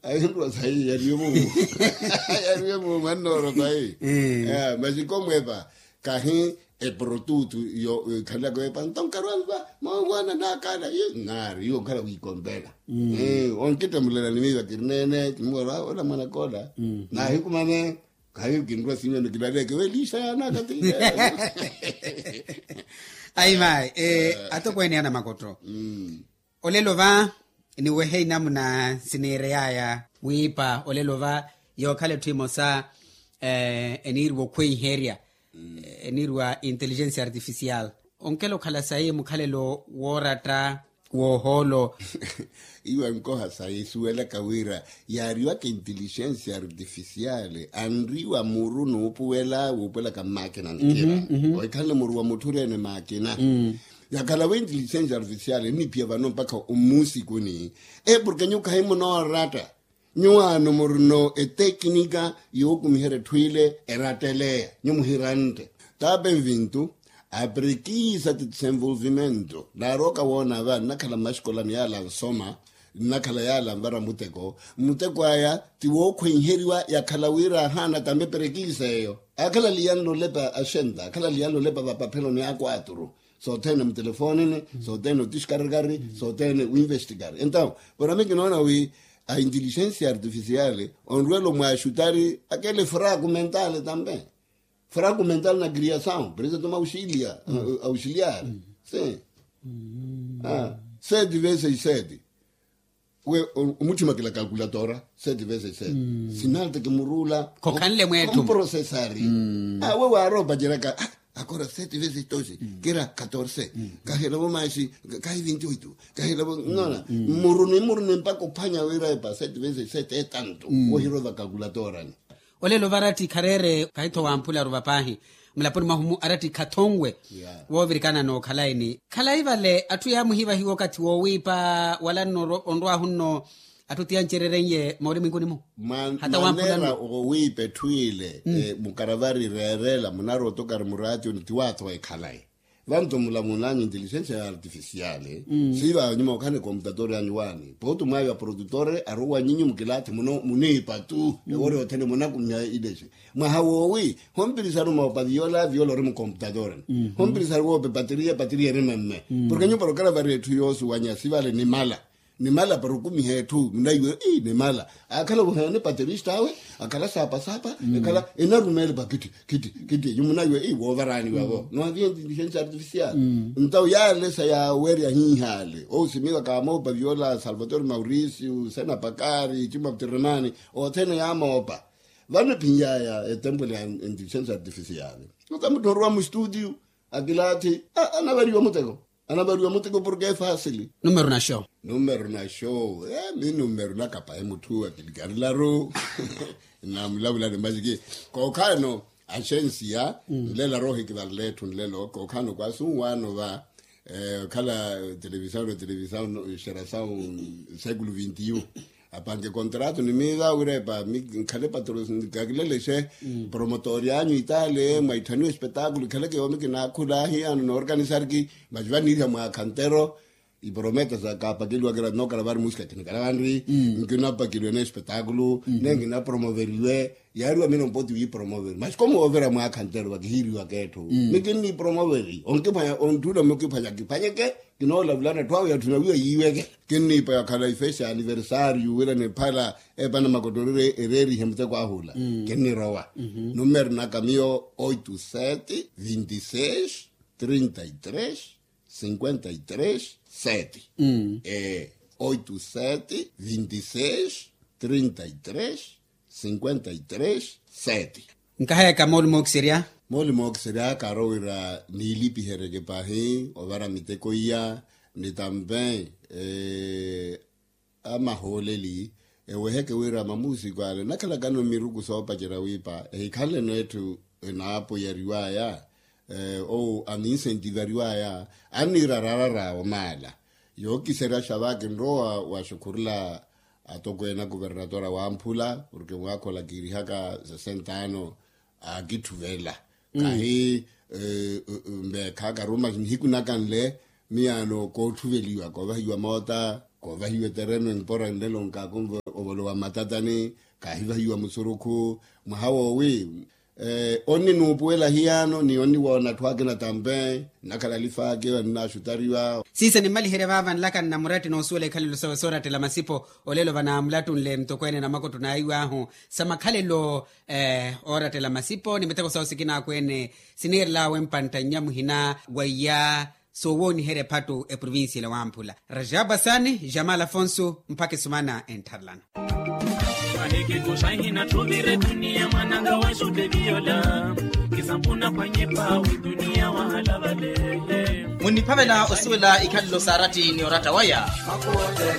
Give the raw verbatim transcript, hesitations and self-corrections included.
Ahinruwa sayi yariwe mumu. Yariwe mumu annooro sayi. Masi komwepa kahi eprotutu yo ikhalelaka wepa nto nkarwanva. Mawuwana nakala naari yo nkhala wikompela. Onkitemulela ni miiva kirineene kimuwela ola mwanakoola. Nahikumane. Khayi kinrwa sinyoni kilaleke weliisa yaana akatile. Ayi mayi. Atokweene ana makotto. Olelo va niwehe inamuna siniireyaya mwiipa olelo va yookhala etthu emosa eniiriwa okhweiherya eniiriwa intelligence artificial. Onkela okhala sayi mukhalelo wooratta woohoolo. Iwe nkoha sayi suwelaka wira yaariwaka intelligence artificial anriwa muru nuupuwela wuupuwelaka mmakina nkira. Ohikhanle muru wa mutthu oreene makina. Yakhalawe intelligence artificial enniphiya vano mpakha ommusikuni. Porke nyuwo khayi munooratta. Nyuwaano murino etekinika yookumiherya etthu ile eratteleya nyuwo muhirantte. Taapa envintu aprekiisa ti desenvolvimento naarooka woona va nnakhala mmaxikolani yaala ansoma nnakhala yaala anvara muteko. Muteko aya ti wookhwenheriwa yakhala wira ahaana tambe prekiisa eyo. Akhala aliyanle olepa axenta akhala aliyanle olepa vapapheloni akwaturu. Sothene mutelefonini sothene otiskarikari sothene winvestikari entawo. Porami kinoona wi a inteligensia artificial onruwelo mwaxutari akele fraku mentale tambe. Fraku mentale na kriasawu prese toma auxiliar. Sete veses sete we omutthima kila kalkulatora sete veses sete. Sinalta kimuruula khokhanle mwetthu mprosesari. Awe waaropa jeraka akora sete veses dosi kira katorse. Kahilavo maxi kahi vinti oito kahilavo nona muruni muruni mpaka ophwanya wira epa sete veses sete etantu. Wohirova kalkulatorani. Olelo varatthi khareere kahi-tho wamphularu vapaahi mulaponi mwahu-mu aratthi khathonwe. Woovirikana nookhalayini khalayi vale atthu yaamuhivahiwa okathi woowiipa wala nno onrwaahu nno atthu ti ancerereiye moorimwinkuni-mu. Hata wamphulani owiipa etthu ile mukaravari reerela munarwa otokari muraationi ti waathowa ekhalayi. Vanto mulamunanyu inteligensia ya artificial siiva nyuma okhala ni computator yanyu waani pooti mwaayo aprodutor arowa nyinyu mukilathi muno muniipa tu ewori othene munakumya ilexi. Mwaha woowi hompirisari moopa viola viola ori mucomputator. Hompirisari woope patriya patriya eri memme. Porke nyupa rokhala vari etthu yoosuwanya sivale nimala. Nimala para okumiha etthu munaiwe ii nimala akhala wuheene paterista awe akhala saapasapa ekhala enarumeele pa kitti kitti kitti enyu munaiwe ii woovaraani vavo nohaviya inteligensia artificial. Ntawo yaalesa yaawerya hiihaale ousimiwa kaamoopa viola salvatore mauricio sena pakari cima ptiremani othene yaamoopa. Vano ephinyaya etempwele ya inteligensia artificial ota mutthu oruwa mustutiu akilaathi anavariwa muteko. Anavariwa muteko porke efasili. Numero naxo. Numero naxo. Mi numero nakapahe mutthu akilikarilaru. Namulavulani masi ki kookhaano axensia nlelo aroohikivalela etthu nlelo kookhaano kwaasu nwaano va okhala televisawu na televisawu xerasawu século vinti un. Apanke contrato ni miiva wira epa nkhale patro kakilelexe promotori anyu itale mwaitthaniwa espetakulo ikhaleke yoomi kinaakhula hiyano noorkanisariki. Masi vaniiriha mwaakha ntero iprometa sa kaapakeliwa kira nookala vari musika kinikala vanri nkinapakelwe ne espetakulo ne nkinapromoveriwe. Yaariwa mino mpoti wiipromoveri masi komuwoovera mwaakha ntero vakihiiriwaka etthu mikinnipromoveri onkiphwanya ontthula mukiphwanya kiphwanyeke. Kinoolavulana etthu awe yatthu nawiwa yiiweke kinniipa yakhala ifesi ya aniversario wira niphala epana makotorire ereerihe muteko ahula. Kinnirowa numero naka miyo oito sete vinte e seis trinta e três cinquenta e três sete. Oito sete vinte e seis trinta e três cinquenta e três sete. Nkahayaka mooli mookiserya. Mooli mookiserya kaarowira niilipiheryeke pahi ovara miteko iya ni tampe amahooleli eweheke wira mamuusiku ale nakhalakano miruku soopacerya wiipa ehikhanleno etthu enaapoyariwaya ou aninsentivariwaya anniira raarara omaala. Yookiserya xava kinrowa waxukhurula atokweene akuvernatora wamphula porke mwaakha ola kiirihaka sesenta ano akitthuvelela kahi mbeekha karumaxi nihiku naka nle miyaano koottuveliwa koovahiwa moota koovahiwa etereno empora nlelo nkaakonvo Ovolowa mmatatani, kaahivahiwa musurukhu. Mwaha woowi onninuupuwela hiyaano ni onniwoona atthu akina tampe nnakhala alifaaki annaxutariwa. Siisa nimmaliherye vaava nlaka nna muratti noosuwela ikhalelo sawe soorattela masipo. Olelo vanaamulatunle mutokweene na makuttu naayiw'ahu sa makhalelo oorattela masipo ni miteko sawe sikina akweene siniirel'awe mpantta nnya muhina wa iya soowooniherya ephattu eprovincia ila wamphula. Rajab asani jamal afonso mpakha esumana enttharelano. Ahekekuxa hinattuvire duniya mwananga wa xuteviyola. Kisampuna pwanyipa wi duniya wahalavale. Munniphavela osuwela ikhalelo saaratti ni oratta waya.